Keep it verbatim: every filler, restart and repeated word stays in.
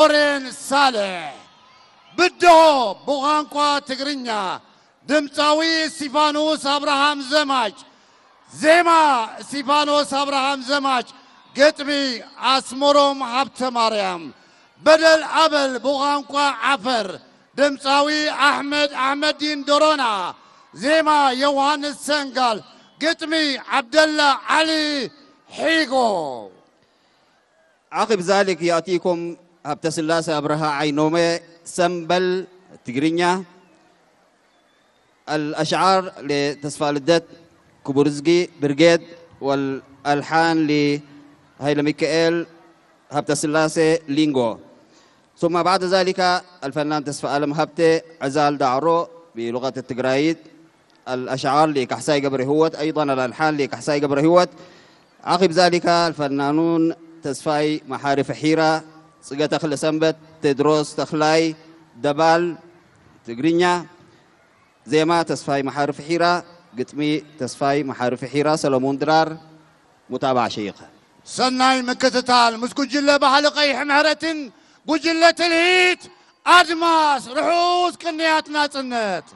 ኦሬን ሳልሕ። ብድሆ ብቋንቋ ትግርኛ ድምጻዊ እስቲፋኖስ አብርሃም ዘማች። ዜማ እስቲፋኖስ አብርሃም ዘማች። ግጥሚ አስመሮም ሀብተ ማርያም። በደል አበል ብቋንቋ ዓፈር ድምጻዊ አሕመድ አሕመዲን ዶሮና። ዜማ ዮሐንስ ሰንጋል። ግጥሚ ዐብደላ ዐሊ ሒጎ። عقب ذلك يأتيكم ሀብተስላሴ አብርሃ ዓይኖሜ ሰምበል ትግርኛ፣ الأشعار لتسفى لدت كبرزقي برقيد، والألحان لهيلة ميكائيل ሀብተስላሴ ሊንጎ። ثم بعد ذلك الفنان تسفى ألم هبتي عزال دعرو بلغة التقرايد، الأشعار لكحساي قبر هوت، أيضًا الألحان لكحساي قبر هوت. عقب ذلك الفنانون تسفاي محارف حيرة، صقة تخل سنبت، تدروس تخلاي، دبال، تقرينيا، ዜማ ተስፋይ መሓርፍ ሒራ፣ ግጥሚ ተስፋይ መሓርፍ ሒራ፣ ሰለሙን ድራር። ሙታባዕ ሸይኸ። ሰናይ ምክትታል ምስ ጉጅለ ባህሊ ቀይሕ ምሕረትን ጉጅለ ትልሂት ኣድማስ ርሑስ ቅንያት ናጽነት።